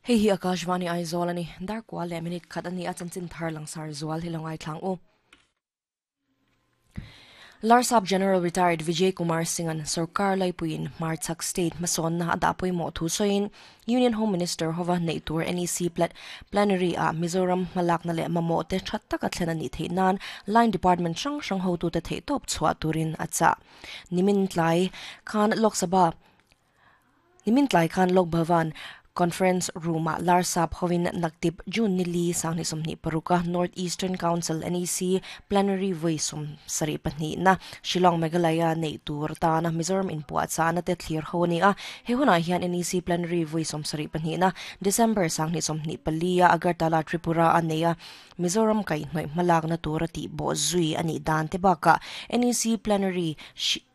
Hei hi Akashvani Aizawl a ni. Darkua leh minute khat a ni a, chanchin thar langsar zual hi lo ngaithlang u. Larsap General Retired Vijay Kumar Singh-a'n sorkar laipuiin hmarchhak state hmasawnna a dah pawimawh thu sawiin Union Home Minister hova neih tur NEC Plenary ah Mizoram hmalakna leh mamawh te tha taka thlen a nih theih nan line department hrang hrang hotute theihtawp chhuah turin a chah. Nimin tlai khan Lok Sabha Nimin tlai khan Lok Bhavan Conference Room-ah Larsap hovin Naktip June ni li 2026 a North Eastern Council, NEC, Plenary vawi 72 na Shillong Meghalaya neih tur tana Mizoram inpuahchahna te thlir ho a ni a. He hunah hian NEC Plenary vawi 72 na December 2024 a Agartala, Tripura a nei a, Mizoram kaihhnawih hmalakna tura tihbawh zui a nih dan te bakah NEC Plenary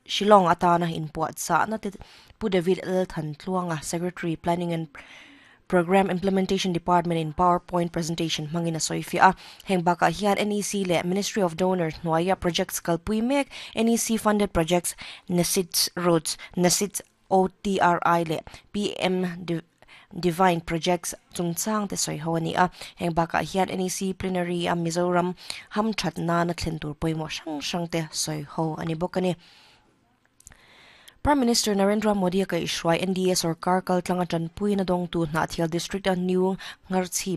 Shillong atana inpuahchahna te Pu David L. Thantluanga, Secretary, Planning and Programme Implementation Department in PowerPoint presentation hmangin a sawi fiah a. Heng bakah hian NEC leh Ministry of Donor hnuaia projects kalpui mek NEC funded projects NESIDS Roads, NESIDS OTRI leh PM Divine Projects chungchang te sawi ho a ni a. Heng bakah hian NEC Plenary a Mizoram hamthat nana thlen tur pawimawh hrang hrang te sawi ho a ni bawk a ni. Prime Minister Narendra Modi a kaihhruai NDA sorkar kaltlang a tanpuina dawngtu Hnahthial District a New Ngarchhip.